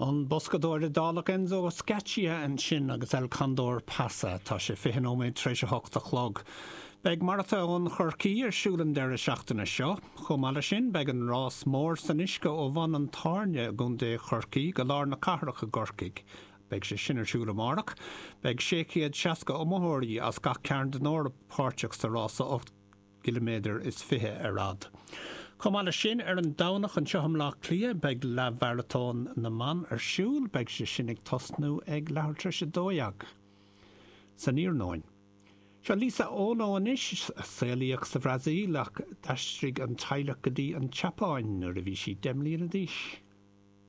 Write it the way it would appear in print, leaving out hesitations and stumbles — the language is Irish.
An boscadóir Iodálach Enzo Scaccia ansin agus El Condor Pasa. Tá sé 20 nóiméad tar éis a hocht a chlog. Beidh Maratón Chorcaí ar siúl an deireadh seachtaine seo. Chomh maith leis sin, beidh an rás mór san uisce ó Bhun an Tairne i gContae Chorcaí go lár na cathrach i gCorcaigh. Beidh sé sin ar siúl amárach. Beidh 660 iomaitheoirí as gach cearn den Eoraip páirteach sa rása 8 gciliméadar is 20 ar fhad. Chomh maith leis sin, ar an Domhnach anseo i mBleá Cliath, beidh Leathmharatón na mBan ar siúl. Beidh sé sin ag tosnú ag leathuair tar éis 12 san iarnóin. Seo Lisa Ono anois, a saolaíodh sa Bhrasaíl ach d'aistrigh an teaghlach go dtí an tSeapáin nuair a bhí sí 10 mbliana d'aois.